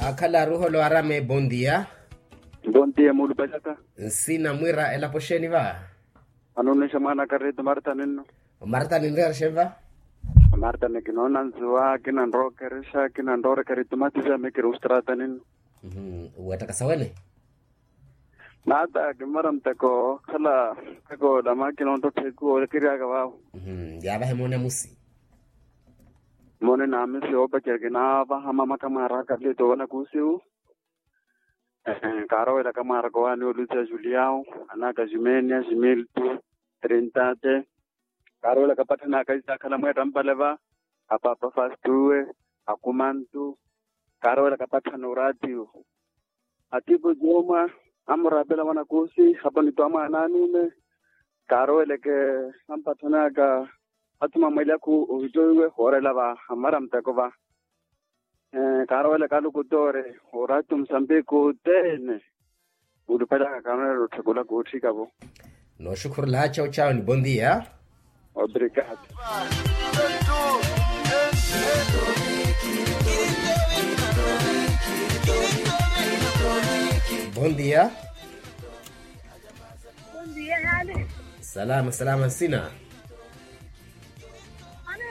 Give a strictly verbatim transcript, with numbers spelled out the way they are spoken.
Akhala aruholo arame bondia. Bondia mulupalaka. Nsina mwira elapo xeeni va? Anunnixa mwaana karito marta ninno. Marta ninreera xeeni va? Marta nikinoona nzuwa kinanrokerexa kinanrorekerexa itumatisa mikiri ustrata ninno. Wettaka sawene. Nata kimara muteko okhala. Muteko ola makina ontotthe ekuwo okiryaka vaavo. Yaavahe moone amusi. Moone naamisi oopacerya kinaavaha mama kamwaaraka lito vanakusiwu. Kaarowela kamwaaraka owaani olusi a juliao, anaka jumenia jumiltu, trintate. Kaarowela kapatthani aka isaakhala mweetta mpale va, apapa fastuwe, akumantu. Kaarowela kapatthani oraatiwo. Atipo jomwa amuraapela mwanakoosi hapanitwa mwaana anume. Kaaroweleke ampatthani aka athuma mweelyaku ohittoiwe hoorela va amara muteko va. Kaaroweleke alukutoore oraati omusambiki othene. Mulupalaka kaanweerela otthekula kootthika vo. Nooxukhurulaaxa ocawe ni bondia. Obrigado. Bondia. Salama salama nsina.